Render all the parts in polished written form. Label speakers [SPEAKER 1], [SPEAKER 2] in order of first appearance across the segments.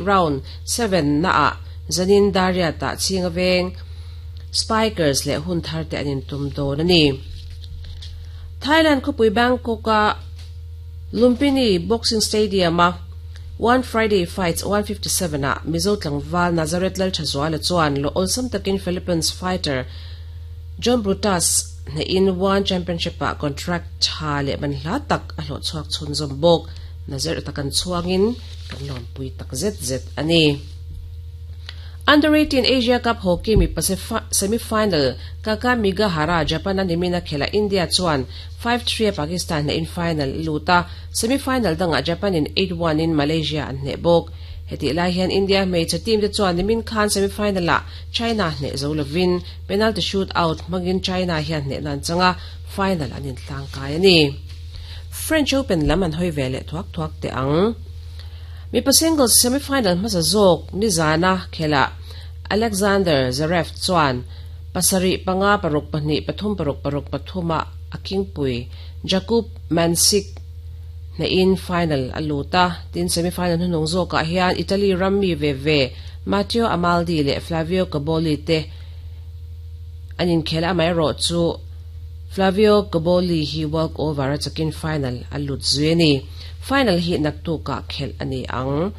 [SPEAKER 1] Round 7 naah zanin dar riatah Chhinga Veng Spikers leh Hunthar te an intum dawn a ni. Thailand khawpui Bangkok-a Lumpini Boxing Stadium-a One Friday Fights 157 ah Mizo tlangval Nazareth Lalthazuala chuan lawh awlsam takin Philippines fighter John Brutus hnehin One Championship-ah contract tha leh manhla tak a hlawhchhuak chhunzawm bawk. Nazareth a kan chhuangin kan lawmpui tak zet zet a ni. Under 18 Asia Cup Hockey mipa semi-final Kakamigahara, Japan a nimin a khelh a India chuan 5-3 a Pakistan hnehin final a lut a, semi-final dangah Japan in 8-1 in Malaysia an hneh bawk. Hetih lai hian India hmeichhe team te chuan nimin khan semi-final ah China hneh zo lovin penalty shoot out hmangin China hian hnehna an chang a, final an inhlangkai a ni. French Open lam an hawi ve leh thuak thuak teh ang. Mipa singles semi-final hmasa zawk nizana khelhah Alexander Zverev chuan pasarih panga paruk pahnih pathum paruk paruk pathuma a kingpui Jakub Mensik hnehin final a lut a. Tin, semi-final hnuhnung zawkah hian Italy ram mi ve ve Matteo Amaldi leh Flavio Cobolli te an inkhel a, amaherawhchu Flavio Cobolli hi walk over a chakin final a lut zui a ni. Final hi naktukah khelh a ni ang.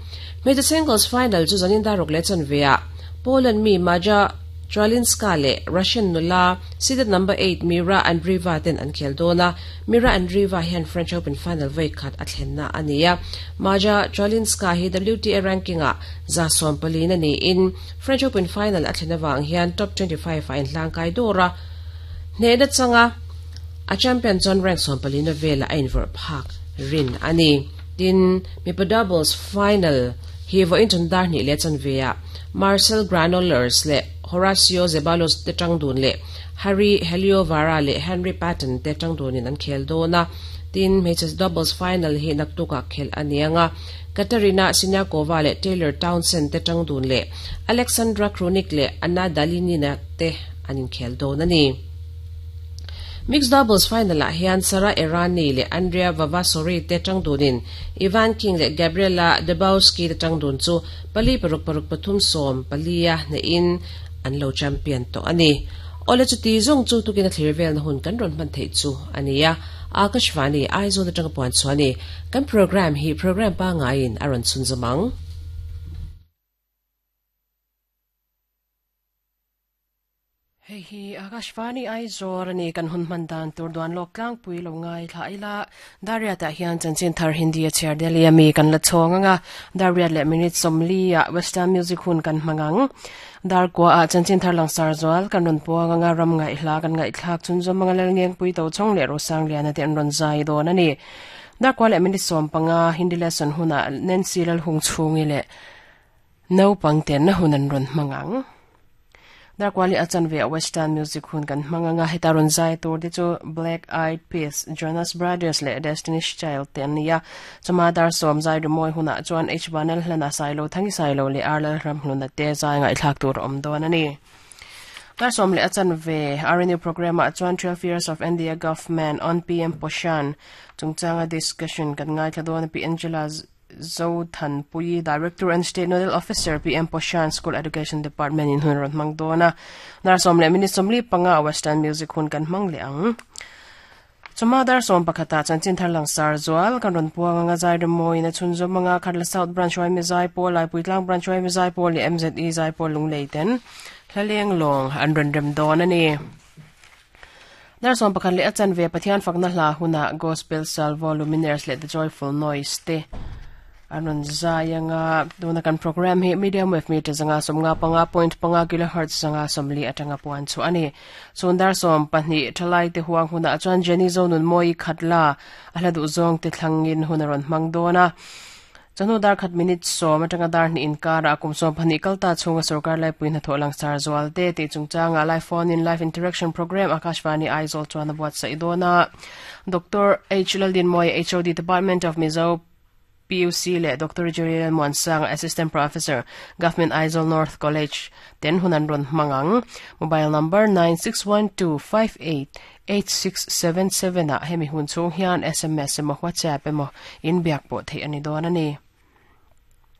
[SPEAKER 1] Hmeichhe singles final chu zanin daruk leh chanveah Poland mi Maja Chwalinska leh Russian nula seeded number eight Mira Andreeva ten an khel dawn a. Mira Andreeva hian French Open final vawi khat a thlenna a ni a. Maja Chwalinska hi WTA ranking-ah 140 a niin French Open final a thlen avang hian top 25 ah inhlangkai dawr a. Hnehna changa a champion chuan rank 14 velah a invawrh phak rin a ni. Tin, mipa doubles final hi vawiin chun dar hnih leh chanveah Marcel Granollers leh Horacio Zeballos te tang dun leh Harri Heliövaara leh Henry Patten te tang dunin an khel dawn a. Tin, hmeichhe doubles final hi naktukah khelh a ni ang a, Katerina Siniakova leh Taylor Townsend te tang dun leh Aleksandra Krunic leh Anna Dalinina te an inkhel dawn a ni. Mixed doubles final-ah hian Sara Errani leh Andrea Vavasori te tang dunin Ivan King leh Gabriela Debowski te tang dun chu pali paruk paruk pathum sawm palia hnehin an lo champion tawh a ni. Awle chuti zawng chu tukin a thlir velna hun kan rawn hman theih chu a ni a, Akashvani Aizawl atanga puan chhuah a ni. Kan programme hi programme pangaiin a rawn chhunzawm ang.
[SPEAKER 2] Hei hi Akashvani Aizawl a ni, kan hun hman dan tur duan lawk tlangpui lo ngai thla ila. Dariat ah hian chanchin thar Hindi a chhiar Delhi a mi kan la chhawng ang a, Dariat leh minute 40 ah Western music hun kan hmang ang. Dar kua ah chanchin thar langsar zual kan rawn puang ang a, ram ngaihhla kan ngaihthlak chhunzawm ang a, Lalngengpui Tochhawng leh Rosangliana te an rawn zai dawn a ni. Dar kua leh minute 15 Hindi lesson hunah Nancy Lalhungchhungi leh Naupang tenna hun an rawn hmang ang. Darkuali a chanve a Western music hun kan hmang ang a, heta rawn zai tur te chu Black Eyed Peas, Jonas Brothers leh Destiny's Child te an ni a. Chuma dar sawm zai rimawi hunah chuan H Vanel Hlana Sailo Thangi Sailo leh R Lalramhluna te zai ngaihthlak tur a awm dawn a ni. Dar sawm leh a chanve RNU programme ah chuan 12 Years of India Government on PM Poshan chungchanga discussion kan ngaithla dawn a, Pi Angela Zothanpui, Director and State Nodal Officer, PM Poshan School Education Department in hun rawn hmang dawn a. Dar sawm leh minute 45 a Western Music hun kan hmang leh ang. Chawhma dar sawm pakhatah chanchin thar langsar zual kan rawn puang anga zai remawiin a chhunzawm anga Khatla South Branch Yma Zaipawl, Laipuitlang Branch Yma Zaipawl leh MZE Zaipawl Lunglei ten hlaleng lawng an rawn rem dawn a ni. Dar 11 leh a chanve Pathian fakna hla hunah Gospel Salvo, Lumineers leh The Joyful Noise te an rawn zai anga tuna kan program hi medium wave meter zanga sawmnga panga point panga kilohertz zanga sawmli atanga puan chu a ni. Chhun dar 12 thalai te huang hunah chuan Jenny Zonun Mawi Khatla a hla duh zawng te thlangin hun a rawn hmang dawn a. Chawhnu dar khat minute sawm atanga dar hnih inkarah kum 12 kal ta chhunga sorkar laipui hnathawh langsar zual te tih chungchangah live phone in live interaction program Akashvani Aizawl chuan a buatsaih dawn a. Doctor H Laldinmawia HOD Department of Mizo PUC leh Doctor Jerry Lalmuansanga Assistant Professor Government Aizawl North College ten hun an rawn hmang ang. Mobile number 9612588677 ah hemi hun chhung hian sms emaw WhatsApp emaw inbiak pawh theih a ni dawn a ni.